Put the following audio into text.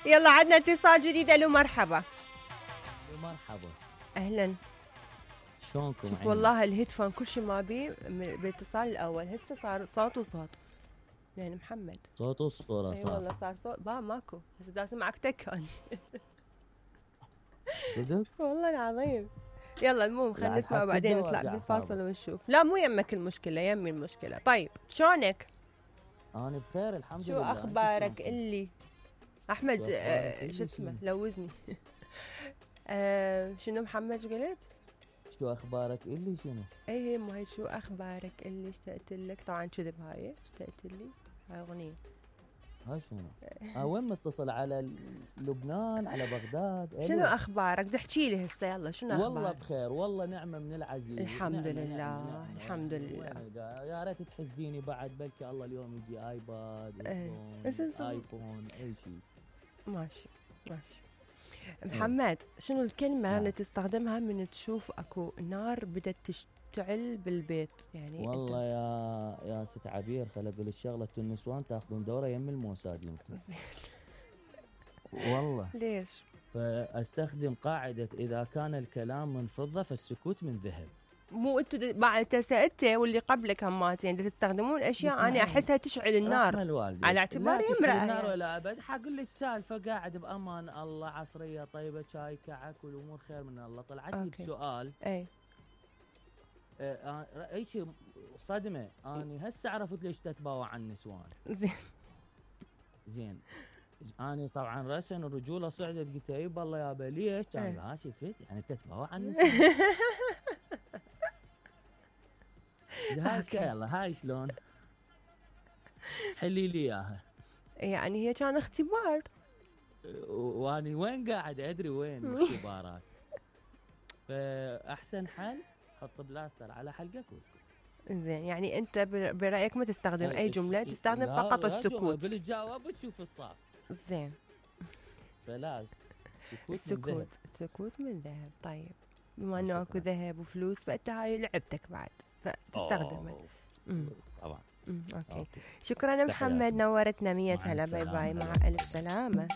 يلا عندنا اتصال جديد. الو مرحبا. مرحبا. اهلا. شلونكم؟ شوف والله الهيدفون كل شيء ما بي بالاتصال الاول هسه صار صوت وصوت. يعني محمد صوت وصورة اي صار. والله صار صوت ماكو هسه دا اسمعك تكاني. صدق؟ والله العظيم. يلا المهم خلينا نسمع وبعدين نطلع بالفاصل ونشوف. لا مو يمك المشكلة، يمي المشكلة. طيب شلونك؟ انا بخير الحمد شو لله. شو اخبارك اللي احمد شو اسمه لوزني. شنو محمد قلت؟ شو اخبارك اللي شنو؟ اي مو هي شو اخبارك اللي اشتقت لك. طبعا كذب هاي اشتقت لي هاي اغنية. ها شنو؟ وين متصل على لبنان على بغداد؟ شنو اخبارك؟ تحكي لي هسه يلا شنو اخبارك؟ والله بخير والله نعمة من العزيز. الحمد نعمة لله نعمة الحمد لله. يا ريت تحسديني بعد بلكي الله اليوم يجي ايباد ايفون اي شيء. ماشي ماشي. محمد شنو الكلمة اللي تستخدمها من تشوف اكو نار بدت تشتعل بالبيت يعني؟ والله يا ست عبير خل اقول الشغلة النسوان تاخذون دورة يم الموساد يمكن. والله ليش؟ فاستخدم قاعدة اذا كان الكلام من فضة فالسكوت من ذهب. مو انتوا بعد سألتي واللي قبلك هماتين تستخدمون اشياء انا احسها تشعل النار على اعتباري امرأة النار ولا ابد. حقول لك سالفة قاعد بامان الله عصرية طيبة شاي كعك والامور خير من الله. طلعت لي بسؤال اي اي شيء صدمة. اني هسه عرفت ليش تتباوع عن النسوان. زين اني طبعا رسن الرجولة صعدت قلت اي والله يابا ليش؟ كان ها شفت يعني تتباوع عن النسوان. هاي يلا هاي شلون؟ حلي لي اياها. يعني هي كان اختبار واني وين قاعد ادري وين الاختبارات. فاحسن حل حط بلاستر على حلقك واسكت. زين يعني انت برايك ما تستخدم اي جمله، تستخدم فقط السكوت. بالجواب وتشوف الصعب. زين فلاش السكوت من ذهب. طيب بما انه اكو ذهب وفلوس فانت هاي لعبتك بعد فتستخدمه. طبعا. اوكي شكرا محمد نورتنا 100 هلا. باي باي مع الف سلامه.